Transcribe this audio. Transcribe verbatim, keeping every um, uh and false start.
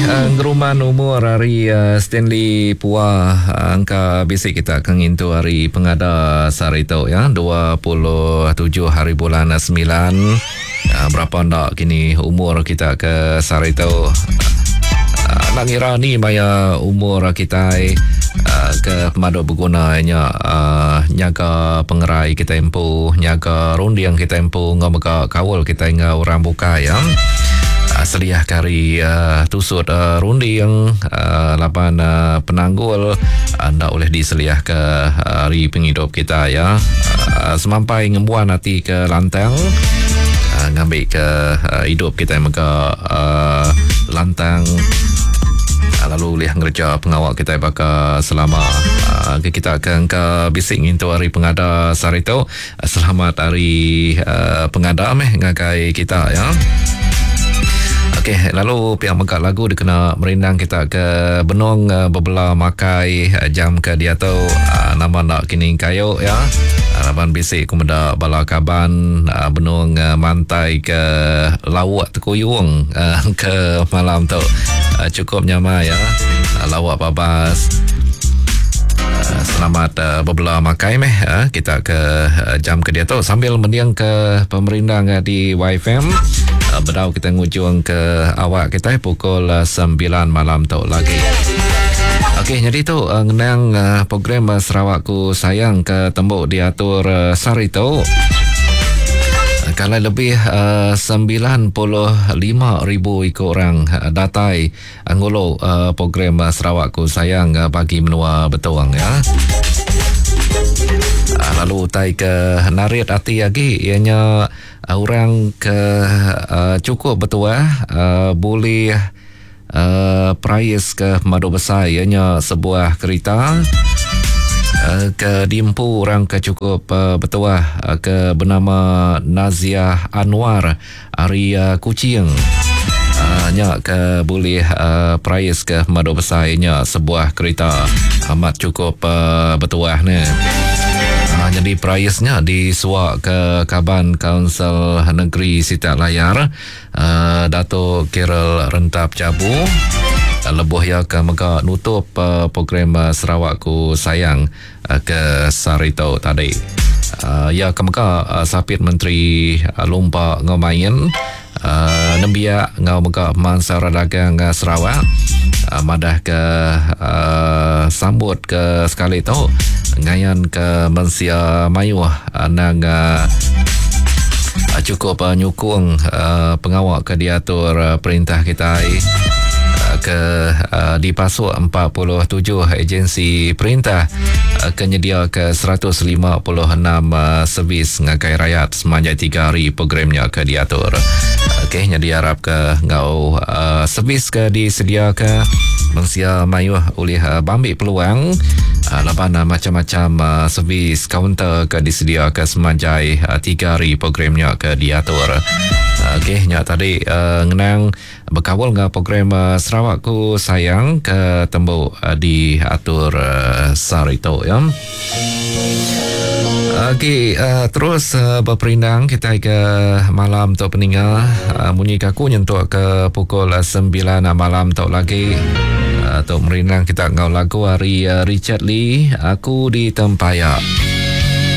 uh, ngeruman umur hari uh, Stanley Pua, uh, angka bisi kita akan ngintu hari pengada sehari tu ya, dua puluh tujuh hari bulan sembilan. Uh, berapa ndak kini umur kita ke sehari tu? Uh, nak ngira ni maya umur kita uh, ke pemadu berguna nya uh, nyaga pengerai kita empu, nyaga runding kita empu, ngau kawal kita ngau orang bukai ya. Seliah kari uh, tusut uh, runding uh, lapan uh, penanggul anda uh, oleh diseliah ke hari penghidup kita ya. Uh, semampai ngembuan hati ke lantang, uh, ngambil ke uh, hidup kita mega uh, lantang, uh, lalu boleh ngerja pengawak kita baka selama uh, kita akan ke bisik ngintu hari pengada sehari tu. Uh, selamat hari uh, pengada meh ngagai kita ya. Okey, lalu pihak megak lagu dikena merindang kita ke benong uh, berbela makai uh, jam ke dia tu uh, nama nak kini kayu ya. Laban bisik ku meda bala kaban uh, benong uh, mantai ke lawak tekuyung uh, ke malam tu. Uh, cukup nyamai ya. Uh, lawak babas. Uh, selamat uh, berbela makai meh uh, kita ke uh, jam ke dia tu sambil mendiang ke pemerindang uh, di Y F M. Bedau kita ngujung ke awak kita pukul sembilan malam tu lagi. Okey, jadi tu uh, ngenang uh, program uh, Sarawakku Sayang ke tembok diatur uh, sehari tu. Uh, kalau lebih uh, sembilan puluh lima ribu ikut orang uh, datai uh, ngulu uh, program uh, Sarawakku Sayang uh, bagi menua Betuang ya. Uh, lalu tai ke narit hati lagi ianya uh, orang ke uh, cukup bertuah uh, boleh uh, prize ke madu besar ianya sebuah kereta uh, ke diempu orang ke cukup uh, bertuah uh, ke bernama Naziah Anwar ari uh, Kuching. Uh, nya ke boleh uh, prize ke madu besar ianya sebuah kereta amat cukup uh, bertuah ni. Ha, jadi prize-nya disuak ke Kaban Kaunsil Negeri Sitak Layar uh, Dato' Gerald Rentap Jabu. Lebuh ya ke mega nutup uh, program uh, Sarawakku Sayang uh, ke Sarito tadi. Uh, ya ke mega uh, Sapit Menteri uh, Lumpa Ngomain uh, nembiak ngau mega Mansara Dagang uh, Sarawak uh, madah ke uh, sambut ke sekali tu ngayan ke mensia mayuh uh, nang uh, cukup uh, nyukung uh, pengawak ke diatur uh, perintah kita uh, ke uh, dipasuk empat puluh tujuh agensi perintah uh, ke nyedia ke seratus lima puluh enam uh, servis ngagai rakyat sepanjang tiga hari programnya ke diatur. Okey, jadi harap ke ngau uh, servis ke disedia ke mensia mayuh oleh uh, bambik peluang uh, laban uh, macam-macam uh, servis kaunter ke disedia ke semanjai uh, tiga hari programnya ke diatur. Uh, Okey, nyak tadi uh, ngenang berkawal dengan program uh, Sarawakku Sayang ke tembok uh, diatur uh, sarito ya. Okey, uh, terus uh, berperindang kita ke malam tu peninga uh, bunyi kaku nyentuk ke pukul sembilan malam tu lagi. Uh, tu merindang kita ngau lagu hari uh, Richard Lee, Aku di Tempayak.